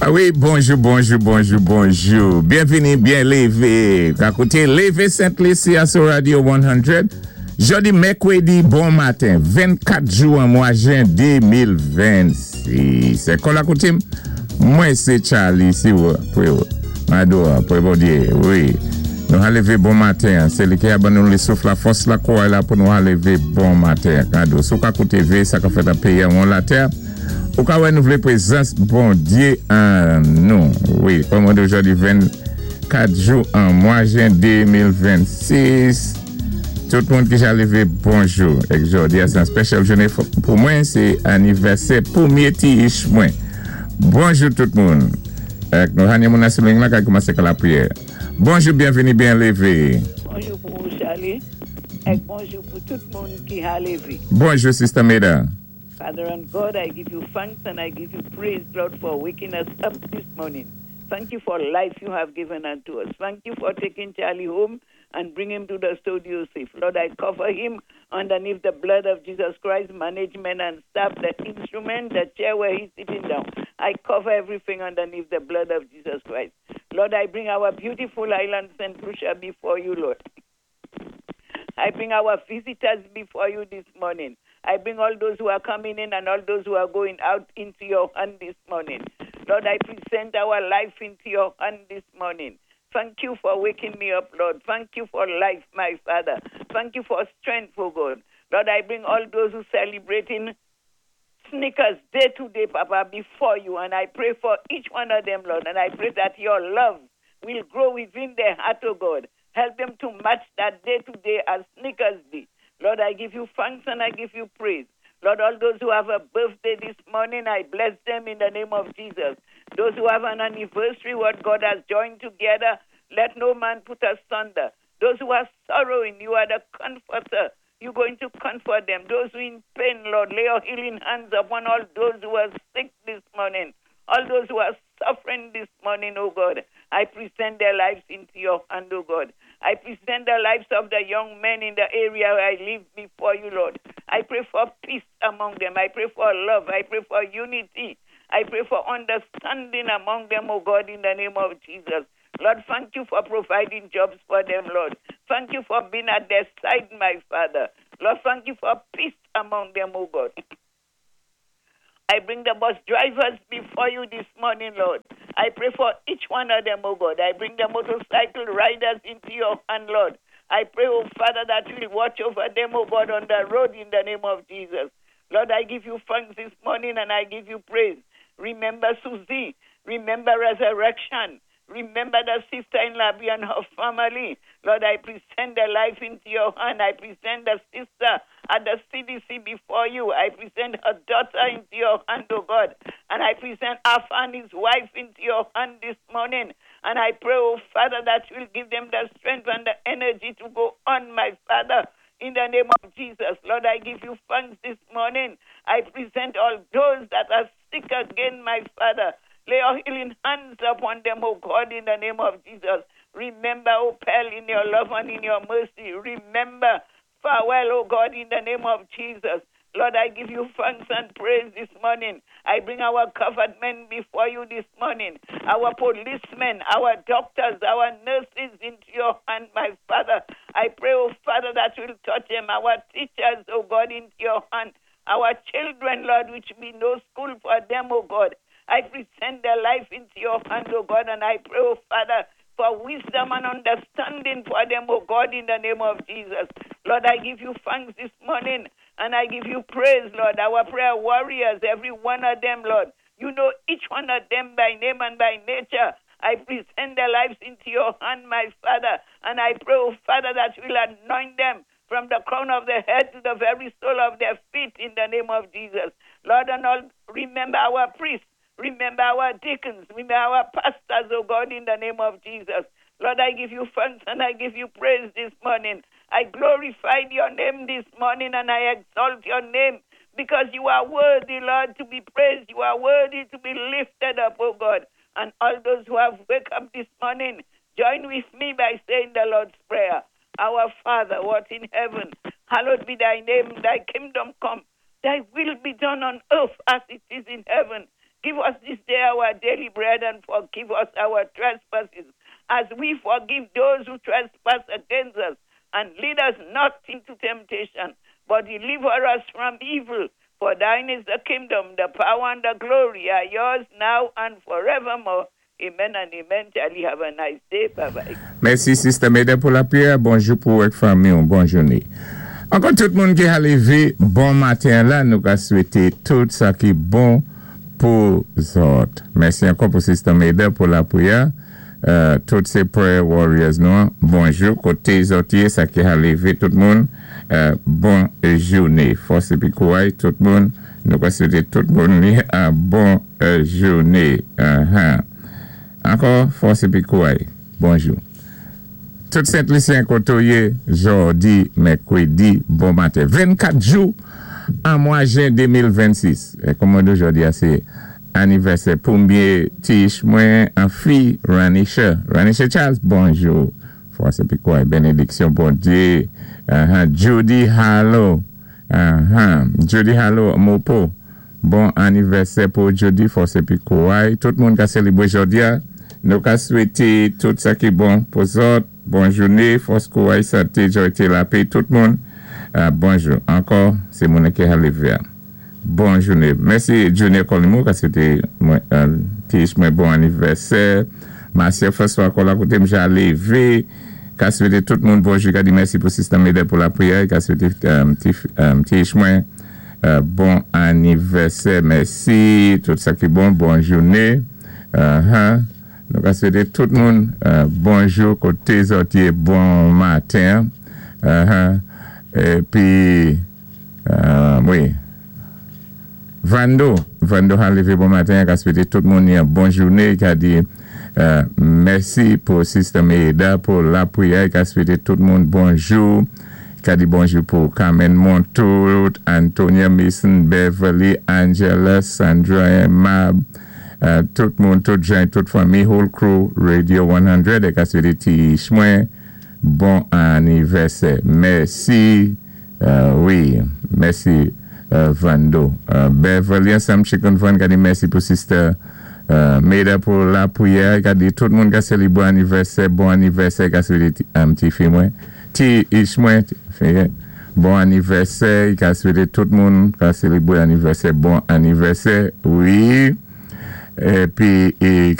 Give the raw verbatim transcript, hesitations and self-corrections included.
Ah wi, bonjou, bonjou, bonjou, bonjou. Byenvini, byen lévé. Ka kouté Lévé Sent Lisi a sou Radio san. Jòdi mèkwédi, bon maten, vennkat jou an mwa jen de mil vennsis. Kon la koutim, mwen sé Charlie, si ou, pou Mado, pou Bondyé, wi. Nou a lévé bon maten, sé li ki a ban nou lé souf, la fòs, la kouway la pou nou a lévé bon maten. Kado, sou ka kouté vé, sa ka fèt an péyi an latè. Ou ka wè nou vlé pwézans Bondyé an nou. Wi, kòm jòdi vennkat jou an mwa jen de mil vennsis. Tout moun ki ja lévé, bonjou. Èk jòdi a, sé an special jouné pou mwen, sé anivèsè pwémyé ti ich mwen. Bonjou tout moun. Èk nou hanye moun asou la ka koumansé ka lapriyè. Bonjou, byenvini, byen lévé. Bonjou pou ou, Charlie. Èk bonjou pou tout moun ki a lévé. Bonjou, Sister Meda. Father and God, I give you thanks and I give you praise, Lord, for waking us up this morning. Thank you for life you have given unto us. Thank you for taking Charlie home and bring him to the studio safe. Lord, I cover him underneath the blood of Jesus Christ, management and staff, the instrument, the chair where he's sitting down. I cover everything underneath the blood of Jesus Christ. Lord, I bring our beautiful island, Saint Lucia, before you, Lord. I bring our visitors before you this morning. I bring all those who are coming in and all those who are going out into your hand this morning. Lord, I present our life into your hand this morning. Thank you for waking me up, Lord. Thank you for life, my Father. Thank you for strength, oh God. Lord, I bring all those who celebrating Sneakers Day today, Papa, before you. And I pray for each one of them, Lord. And I pray that your love will grow within their heart, oh God. Help them to match that day to day as Sneakers Day. Lord, I give you thanks and I give you praise. Lord, all those who have a birthday this morning, I bless them in the name of Jesus. Those who have an anniversary, what God has joined together, let no man put asunder. Those who are sorrowing, you are the comforter. You're going to comfort them. Those who are in pain, Lord, lay your healing hands upon all those who are sick this morning. All those who are suffering this morning, oh God. I present their lives into your hand, oh God. I present the lives of the young men in the area where I live before you, Lord. I pray for peace among them. I pray for love. I pray for unity. I pray for understanding among them, oh God, in the name of Jesus. Lord, thank you for providing jobs for them, Lord. Thank you for being at their side, my Father. Lord, thank you for peace among them, oh God. I bring the bus drivers before you this morning, Lord. I pray for each one of them, oh God. I bring the motorcycle riders into your hand, Lord. I pray, oh Father, that you will watch over them, oh God, on the road in the name of Jesus. Lord, I give you thanks this morning and I give you praise. Remember Susie. Remember resurrection. Remember the sister in Labby and her family. Lord, I present their life into your hand. I present the sister at the C D C before you. I present her daughter into your hand, oh God. And I present Alpha and his wife into your hand this morning. And I pray, oh Father, that you will give them the strength and the energy to go on, my Father. In the name of Jesus, Lord, I give you thanks this morning. I present all those that are sick again, my Father. Lay your healing hands upon them, O God, in the name of Jesus. Remember, O Pearl, in your love and in your mercy. Remember, farewell, O God, in the name of Jesus. Lord, I give you thanks and praise this morning. I bring our government before you this morning, our policemen, our doctors, our nurses into your hand, my Father. I pray, oh Father, that you will touch them, our teachers, oh God, into your hand, our children, Lord, which be no school for them, oh God. I present their life into your hand, oh God, and I pray, oh Father, for wisdom and understanding for them, oh God, in the name of Jesus. Lord, I give you thanks this morning and I give you praise, Lord. Our prayer warriors, every one of them, Lord. You know each one of them by name and by nature. I present their lives into your hand, my Father, and I pray, oh Father, that you will anoint them from the crown of their head to the very sole of their feet in the name of Jesus. Lord, and all remember our priests, remember our deacons, remember our pastors, oh God, in the name of Jesus. Lord, I give you thanks and I give you praise this morning. I glorify your name this morning and I exalt your name because you are worthy, Lord, to be praised. You are worthy to be lifted up, oh God. And all those who have wake up this morning, join with me by saying the Lord's Prayer. Our Father, who art in heaven, hallowed be thy name, thy kingdom come, thy will be done on earth as it is in heaven. Give us this day our daily bread and forgive us our trespasses as we forgive those who trespass against us. And lead us not into temptation, but deliver us from evil. For thine is the kingdom, the power, and the glory are yours now and forevermore. Amen and amen. Charlie, have a nice day. Bye bye. Mèsi, Sister Meda, pou lapriyè. Bonjou pou wèk fanmi, bon jouné. Ankò tout moun ki a lévé bon maten la, nou ka swété tout sa ki bon pou zòt. Mèsi ankò pou Sister Meda pou lapriyè. Euh, tout sé prayer warriors nou. Bonjou, koté zòt yé, sa ki a lévé tout moun. Euh, bon jouné. Fòs épi kouway, tout moun. Nou ka swété tout moun yon bon euh, jouné. Uh-huh. Ankò, fòs épi kouway. Bonjou. Tout Sent-Lisyen koto yé, jòdi, mèkwédi, bon maten. vennkat jou an mwa jen de mil vennsis. É kòman do jòdi a sé anivèsè pwémyé ti-ich mwen an fi Ranisha. Ranisha Charles, bonjou. Fòs épi kouway, bénédiksyon Bondyé. Uh-huh. Judy Hallo. Uh-huh. Judy Hallo, Mopo. Bon anivèsè pou Judy, fòs épi kouway. Tout moun ka sélébwé jòdi a. Nou ka swété tout sa ki bon pou zòt. Bon jouné, fòs kouway, santé, jwa, lapè, tout moun. Euh, bonjou. Ankò, sé moun ki a lévé. Bon jouné. Mèsi Junior Colimou, ka swété mwen, euh, ti-ich mwen bon anivèsè. Marcia François ankò la koté mja lévé. Ka swété tout moun bonjou. Ka di mèsi pou Sister Meda pou lapriyè. Ka swété euh, ti, euh, ti-ich mwen euh, bon anivèsè. Mèsi. Tout sa ki bon. Bon jouné. Uh-huh. Nou ka swété tout moun euh, bonjou koté zòt yé bon maten. Uh-huh. Épi, euh, wi. Vando, Vando a lévé bon maten, ka swété tout moun yon bon jouné, ka di euh, mèsi pou Sister Meda pou lapriyè, ka swété tout moun bonjou, ka di bonjou pou Carmen Montout, Antonia Mason, Beverly, Angela, Sandra Mab, euh, tout moun, tout jan, tout fanmi, whole crew, Radio san, é ka swété ti-ich mwen, bon anivèsè. Mèsi, euh, wi, mèsi euh, Vando. Euh, Beverly ansanm Chicken Van, ka di mèsi pou Sister euh, Meda pou lapriyè, ka di tout moun ka sélébwé anivèsè, bon anivèsè, ka swété um, ti fi mwen, ti ich mwen, fi, bon anivèsè, ka swété tout moun ka sélébwé anivèsè, bon anivèsè, wi. Épi, é,